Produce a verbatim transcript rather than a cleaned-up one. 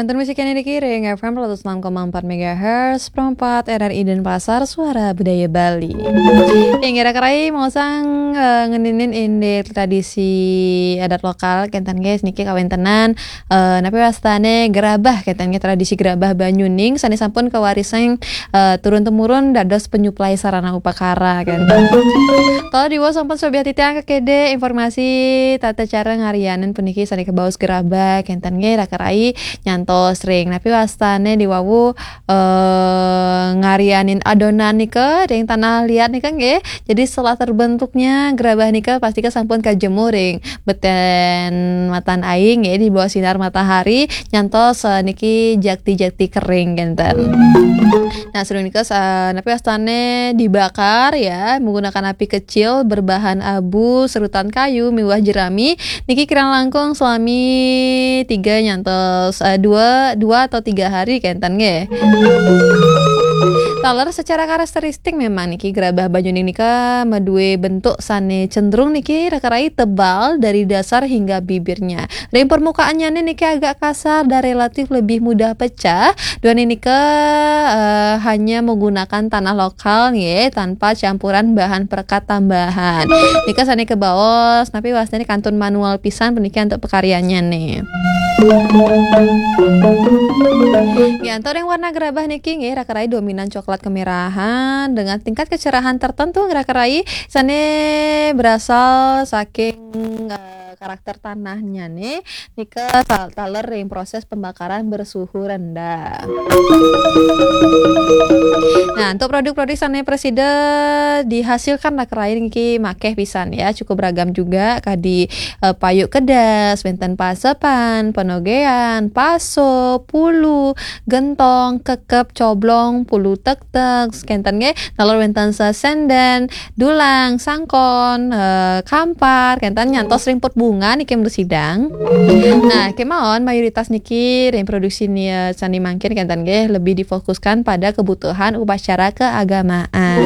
Nonton musik yang dikiring F M seratus enam koma empat megahertz, Pro empat R R I Denpasar, Suara Budaya Bali. Inggih raka rai, mau sang eh, ngeninin indik tradisi adat lokal kenten guys, niki kawentenan eh, napi wastane gerabah kenten guys, tradisi gerabah Banyuning sane sampun kawarisan eh, turun temurun dados penyuplai sarana upakara kenten. Kalau di sampun sobiah titiang kekede informasi tata cara ngarianin puniki sane kebaos gerabah kenten nggih raka rai. Nyantos ring napi wastane di wawu eh, ngarianin adonan nika ring tanah liat nika nggih. Jadi setelah terbentuknya gerabah nika pasti sampun kajemur ring beten matan aing nggih di bawah sinar matahari nyantos eh, niki jakti-jakti kering kenten. Nah, sering nika sa- napi wastane dibakar ya menggunakan api kecil berbahan abu, serutan kayu, miwah jerami. Niki kirang langkung selami tiga nyantos eh, dua dua atau tiga hari kenten nggih. Taler secara karakteristik memang niki gerabah Banyuning nika madue bentuk sane cenderung niki raka rai tebal dari dasar hingga bibirnya. Ring permukaannya niki agak kasar dan relatif lebih mudah pecah. Dua nika eh, hanya menggunakan tanah lokal nggih tanpa campuran bahan perekat tambahan. Nika sane kebaos napi wastane kantun manual pisan puniki untuk pekaryannya nih. Nggih, antuk ring warna gerabah niki nggih raka rai dominan coklat kemerahan dengan tingkat kecerahan tertentu raka rai sane berasal saking eh, karakter tanahnya nih nika sal- taler ring proses pembakaran bersuhu rendah. Nah, untuk produk-produk sane presida dihasilkan raka rai niki makeh pisan ya, cukup beragam juga kadi eh, payuk kedas, wenten pasepan, penogean, paso, pulu, gentong, kekep, coblong, pulu tektek, kenten nggih, taler wenten sesenden, dulang, sangkon, eh, kampar, kenten nyantos ring pot bunga niki mrusidang. Nah, kemawon mayoritas niki ring produksi ni eh, sane mangkin kenten nggih lebih difokuskan pada kebutuhan upacara keagamaan.